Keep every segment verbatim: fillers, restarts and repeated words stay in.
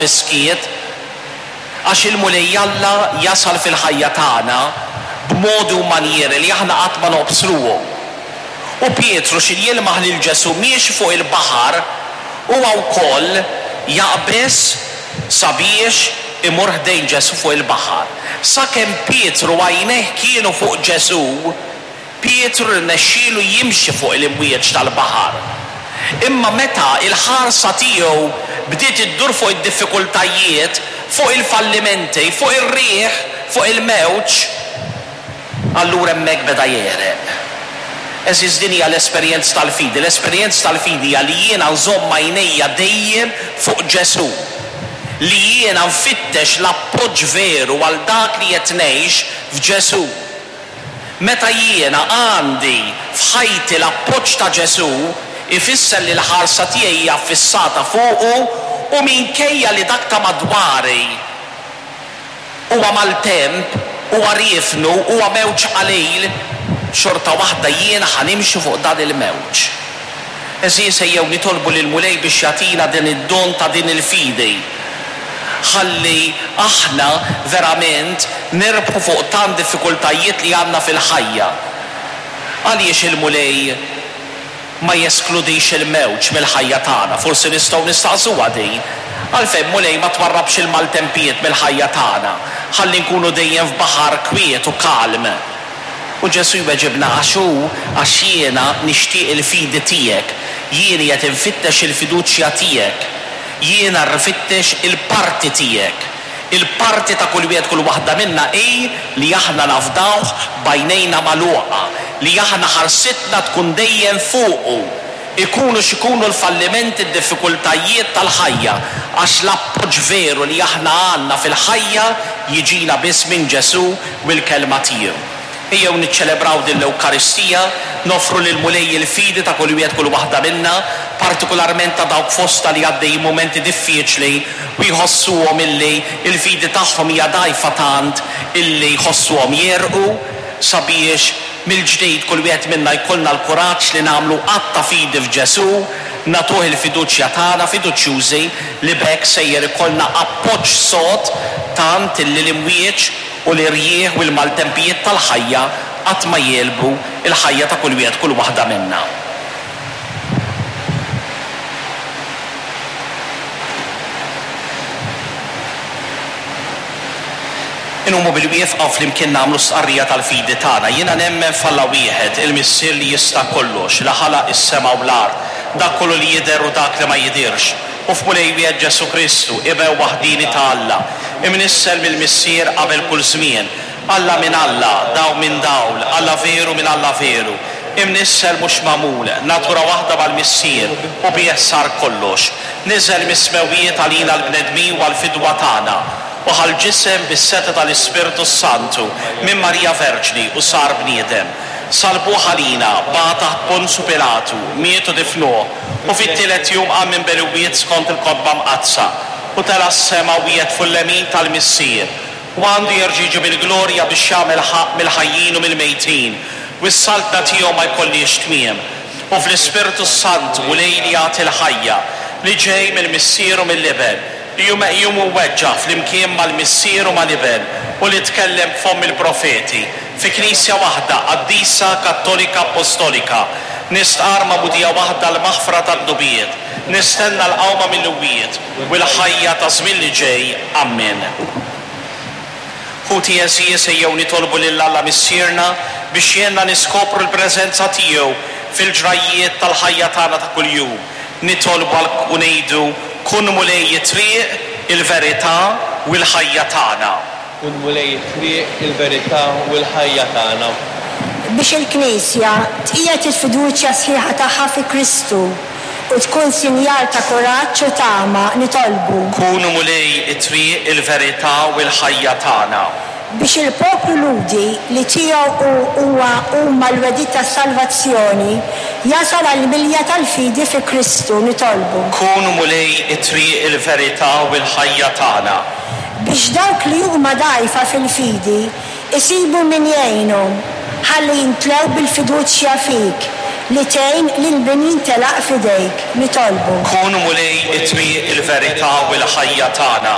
Fis-skiet, għax il-Mulej Alla jasal fil-ħajja tagħna b'modi u manjieri li aħna qatt ma nobsruhom. U Pietru x'ħin jilmaħ lil Ġesù miexi fuq il-baħar, huwa wkoll jaqbeż sabiex imur ħdejn Ġesù fuq il-baħar. Sakemm Pietru għajnejh kienu fuq Ġesù, Pietru rnexxielu jimxi fuq l-imwieġ tal-baħar. Imma meta il-ħarsa tiegħu bdiet iddur fuq id-diffikultajiet, fuq il-fallimenti, fuq ir-riħ, fuq il-mewġ, allura hemmhekk beda jegħreq. Għeżież, din hija l-esperjenza tal-fidi. L-esperjenza tal-fidi hija li jiena nżomm għajnejja dejjem fuq Ġesù. Li jiena nfittex l-appoġġ veru għal dak li qed ngħix f'Ġesù. Meta jiena għandi f'ħajti l-appoġġ ta' Ġesù, ifisser li l-ħarsa tiegħi hija ffissata fuqu u minkejja li dak ta' madwari huwa maltemp, huwa riefnu, huwa mewġ qalil, xorta waħda jiena ħa nimxi fuq dan il-mewġ. Għeżież, ejjew nitolbu lill-Mulej biex jagħtina din id-don ta' din il-fidi. Ħalli aħna verament nirbħu fuq tant diffikultajiet li għandna fil-ħajja. Għaliex il-Mulej ma jeskludix il-mewġ mill-ħajja tagħna? Forsi nistgħu nistaqsuha din. Għalfejn, Mulej, ma twarrabx il-maltempijiet mill-ħajja tagħna, ħalli nkunu dejjem f'baħar kwiet u kalm? U Ġesù jweġibna, għax hu għax jiena nixtieq il-fidi tiegħek, jien qed infittex il-fiduċja tiegħek, jiena rfittex il-parti tiegħek. Il-parti ta' kull wieħed kull waħda minna hi li aħna nafdawh b'għajnejna magħluqa, li aħna ħarsitna tkun dejjem fuqu, ikunu x'ikunu l-fallimenti, d-diffikultajiet tal-ħajja, għax l-appoġġ veru li aħna għandna fil-ħajja jiġina biss minn Ġesù u l-kelma tiegħu. Ejjew niċċelebraw din l-Ewkaristija, nofru lil Mulej il-fidi ta' kull wieħed kull waħda minna, partikolarment ta' dawk fosta li għaddej mumenti diffiċli u jħossuhom illi il-fidi tagħhom hija dgħajfa tant illi jħossuhom jegħrqu, sabiex mill-ġdid kull wieħed minna jkollna l-kuraġġ li nagħmlu att ta' fidi f'Ġesù, nagħtuh il-fiduċja tagħna, fiduċjużi li b'hekk sejjer ikollna appoġġ sod tant illi l-imwieġ u l-irjieħ u l-maltempijiet tal-ħajja qatt ma jegħlbu il-ħajja ta' kull wieħed kull waħda minna. Inqumu bil-wieqfa u flimkien nagħmlu stqarrija tal-fidi tagħna. Jiena nemmen f'Alla wieħed, il-Missier li jista' kollox, li ħalaq is-sema u l-art, dak kollu li jidher u dak li ma jidhirx, u f'Mulej wieħed Ġesù Kristu, Iben waħdini ta' Alla, imnissel mill-Missier qabel kull żmien, Alla minn Alla, dawl minn dawl, Alla veru minn Alla veru, imnissel mhux magħmul, natura waħda mal-Missier, u bih sar kollox. Niżel mis-smewwiet għalina l-bnedmin u għall-fidwa tagħna, u ħa l-ġisem bis-setgħa tal-Ispirtu Santu minn Marija Verġni u sar bniedem. Salbuh għalina, bagħat taħt Ponzu Pilatu, miet u difnuh, u fit-tielet jum qam minn bejn l-imwiet skont il-Kotba Mqaddsa, u tela' s-sema u qiegħed fuq il-lemin tal-Missier, u għandu jerġa' jiġi bil-glorja biex jagħmel ħaqq mill-ħajjin u mill-mejtin, u s-saltna tiegħu ma jkollhiex tmiem. U fl-Ispirtu Santu u lejl jagħti l-ħajja, li ġej mill-Missier u mill-Iben, li hu meqjum u mweġġa' flimkien mal-Missier u mal-Iben, u li tkellem b'fomm il-profeti, fi Knisja waħda, qaddisa, Kattolika, Apostolika, nistqar magħmudija waħda l-maħfra tad-dnubiet, nistenna l-qawma mill-imwiet u l-ħajja ta' żmien li ġej. Amen. Ħuti għeżież, ejjew nitolbu lil Alla Missierna biex jgħinna niskopru l-preżenza tiegħu fil-ġrajjiet tal-ħajja tagħna ta' kuljum. Nitolbu għal u ngħidu, kun Mulej it-triq, il-verità u l-ħajja tagħna. Kun Mulej it-triq, il-verità u l-ħajja tagħna. Biex il-Knisja tqiegħed il-fiduċja sħiħa tagħha fi Kristu u tkun sinjal ta' kuraġġ u tama, nitolbu. Kunu Mulej it-triq, il-verità u l-ħajja tagħna. Biex il-poplu Lhudi li tiegħu huwa huma l-wegħdiet tas-salvazzjoni jasal għall-milja tal-fidi fi Kristu, nitolbu. Kunu Mulej it-triq, il-verità u l-ħajja tagħna. Biex dawk li huma dgħajfa fil-fidi isibu min jgħinhom, ħalli jimtlew bil-fiduċja fik li tgħin lil min jintelaq f'idejk. Nitolbu. Kun, Mulej, it-triq, il-verità u l-ħajja tagħna.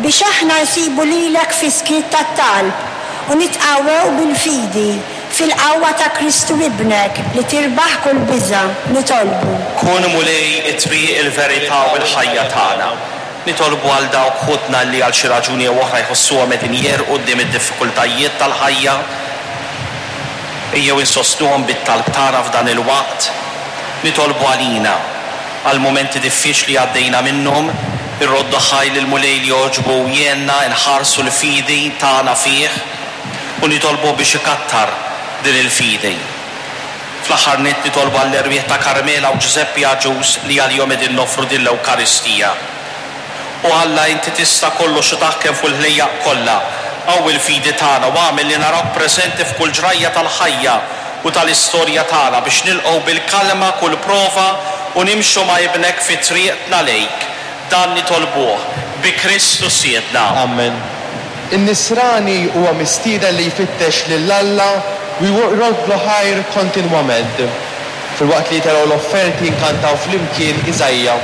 Biex aħna nsibu lilek fis-skiet tat-talb u nitqawwew bil-fidi fil-qawwa ta' Kristu Ibnek li tirbaħ kull biża'. Nitolbu. Kun, Mulej, it-triq, il-verità u l-ħajja tagħna. Nitolbu għal dawk ħutna li għal xi raġuni jew oħra jħossuhom qegħdin jegħrqu quddiem id-diffikultajiet tal-ħajja. Ejjew insostnuhom bit-talb tagħna f'dan il-waqt. Nitolbu għalina għal mumenti diffiċli għaddejna minnhom, irroddu ħajr lill-Mulej li għoġbu jgħinna nħarsu l-fidi tagħna fih u nitolbu biex ikattar din il-fidi. Fl-aħħar nett nitolbu għall-erwieħ ta' Carmela u Giuseppe Agius li għalihom qegħdin noffru din l-Ewkaristija. O Alla, inti tista' kollox u taħkem fuq il-ħlejjaq kollha. Qawwi l-fidi tagħna u agħmel li narawk preżenti f'kull ġrajja tal-ħajja u tal-istorja tagħna biex nilqgħu bil-kalma kull prova u nimxu ma' ibnek fi triqtna lejk. Dan nitolbuh bi Kristu Sidna. Amen. In-nisrani huwa mistieden li jfittex lil Alla u jroddlu ħajr kontinwament. Filwaqt li jitelgħu l-offerti nkantaw flimkien Iżaija.